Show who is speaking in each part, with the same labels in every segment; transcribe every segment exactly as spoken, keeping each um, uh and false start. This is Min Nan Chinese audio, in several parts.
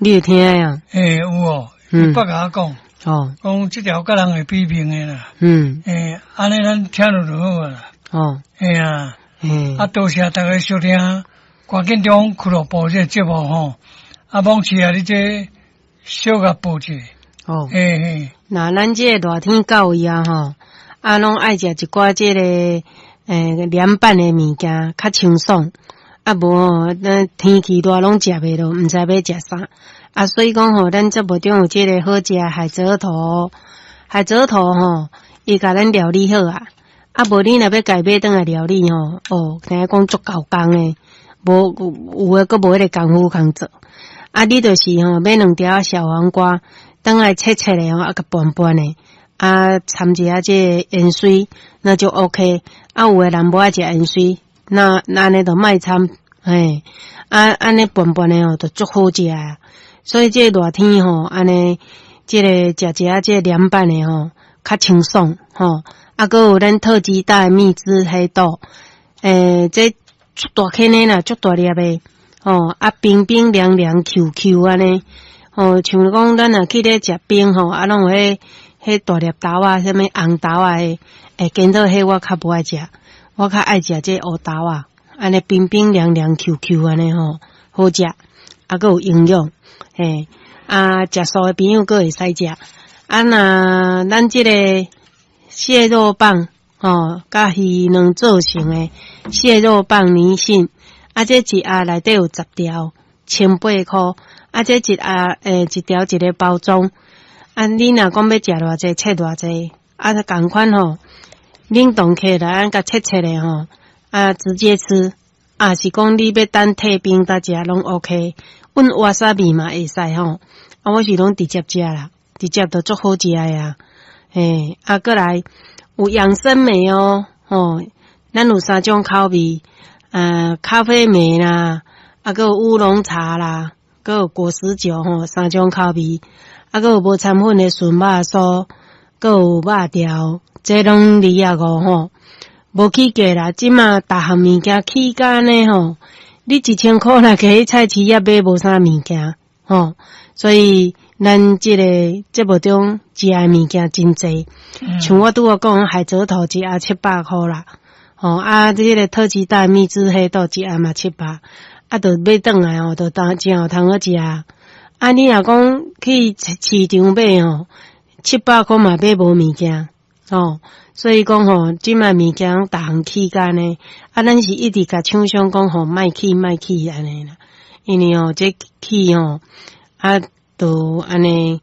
Speaker 1: 你有聽啊？
Speaker 2: 欸，有哦，伊捌共我講，
Speaker 1: 哦，
Speaker 2: 講這條佮人會比拼的啦。
Speaker 1: 嗯，
Speaker 2: 欸，按呢咱聽著就好啊啦。
Speaker 1: 哦，
Speaker 2: 嘿啊，
Speaker 1: 欸，
Speaker 2: 啊，多謝逐家收聽，趕緊中俱樂部這個節目吼，啊，罔市啊，你這小共報一下。
Speaker 1: 哦，
Speaker 2: 嘿嘿，
Speaker 1: 那咱這個熱天到位啊吼，啊，攏愛食一寡這個欸涼拌的物件，較清爽。啊，無吼，咱天氣熱攏食袂落，毋知欲食啥。啊，所以講吼，咱節目中有這個好食海蜇頭，海蜇頭吼，伊共咱料理好啊。啊，無你若欲家買轉來料理吼，哦，聽講足猴工的，無有的閣無彼个功夫通做。啊，你就是吼買兩條小黃瓜，轉來切切的吼，啊，共拌拌的，啊，摻一下這個芫荽，那就 OK。啊，有的人無愛食芫荽，那那按呢就莫摻，嘿，啊，按呢拌拌的吼，就足好食。所以這個熱天吼，按呢，這個食一下這個涼拌的吼，較清爽吼。啊，閣有咱特級大蜜汁黑豆，欸，這足大顆的啦，足大粒的，吼，啊，冰冰涼涼 Q Q 按呢，吼，像講咱若去咧食冰吼，啊，攏有彼彼大粒豆仔，啥物紅豆仔的，欸，顛倒彼我較無愛食，我較愛食這烏豆仔，按呢冰冰涼涼 Q Q 按呢吼，好食，啊，閣有營養，嘿，啊，食素的朋友閣會使食，啊，若咱這個蟹肉棒，吼，佮魚卵做成的蟹肉棒泥鰊，啊，這一盒內底有十條，千八箍，啊，這一盒欸，一條一个包裝，啊，你若講欲食偌濟，切偌濟，啊，仝款吼，冷凍起來，按共切切的吼，啊，直接吃，啊是講你欲等退冰才食攏 OK，阮わさび嘛會使吼，啊，我是攏直接食啦，直接就足好食的啊。嘿，啊，閣來有養生莓哦，吼，咱有三種口味，呃，咖啡莓啦，啊，閣有烏龍茶啦，閣有果實酒吼，三種口味，啊，閣有無摻粉的純肉酥，閣有肉條，這攏二十五吼，無起價啦，這馬逐項物件起價呢吼，你一千箍若去菜市仔買無啥物件吼，所以咱這個節目中食的物件真濟，像我拄仔講海蜇頭一盒七百箍啦，吼啊，這個特級大蜜汁黑豆一盒嘛七百，啊，就買轉來吼，就當真有通好食。啊，你若講去市場買吼，七百箍嘛買無物件，吼，所以講吼，這馬物件攏逐項起價呢，啊，咱是一直共廠商講吼，莫起莫起按呢啦，因為吼，這起吼，啊，就按呢，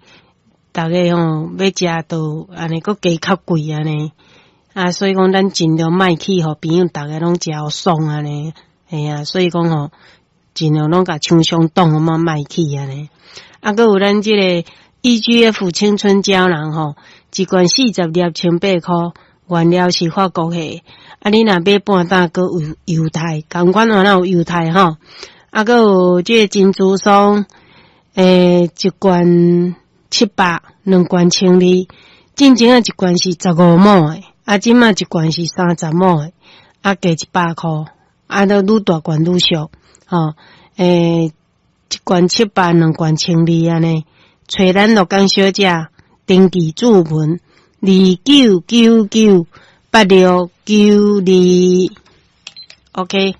Speaker 1: 逐家吼欲食就按呢，閣加較貴按呢，啊，所以講咱盡量莫起，予朋友逐家攏食予爽按呢，嘿啊，所以講吼，盡量攏共廠商擋予莫莫起按呢。啊，閣有咱這個 E G F 青春膠囊吼，一罐四十粒千八箍，原料是法國的。啊，你若買半打，閣有優待，仝款嘛有優待吼。啊，閣有這個珍珠霜，欸，一罐七百，兩罐千二。進前仔一罐是十五毫的，啊，這馬一罐是三十毫的，啊，加一百箍，啊，都愈大罐愈俗，吼，欸，一罐七百，兩罐千二按呢。揣咱鹿港小姐，登記注文二九九九八六九二，OK。